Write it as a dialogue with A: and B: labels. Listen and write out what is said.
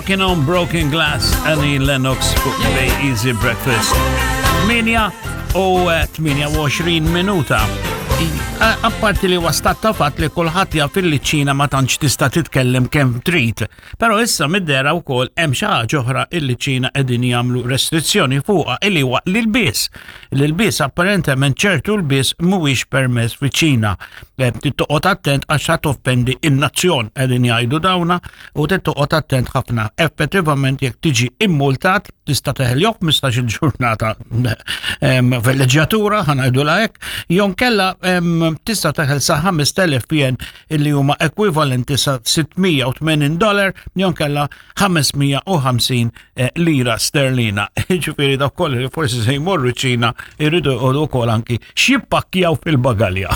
A: Walking on Broken Glass, Annie Lennox fuq Bay Easy Breakfast. 8 u 28 minuta. Apparti li wastat ta' fatt li kulħadd jaf li ċina ma tantx tista' titkellem kemm trid. Però issa mid-dera wkoll hemm xi ħaġa oħra illi ċina qegħdin jagħmlu restrizzjoni fuqha illi huwa l-ilbies. L-ilbies apparentement ċertu lbies mhuwiex permess fiċ-Ċina. Eh, toqgħod attent għax ħa toffendi in-nazzjon qegħdin jgħidu dawna u toqgħod attent ħafna. Effettivament jekk tiġi immultat tista' teħel jew 15-il ġurnata fil-leġġjatura ħanajdu hekk, jew kella tista' teħel sa 5000 jen illi huma ekwivalenti sa 680 dollar jew kella 550 eh, lira sterlina. Ġifieri dawk kollha li forsi se jmorru ċina jridu jqogħdu wkoll anki x'jippakkjaw fil-bagalja.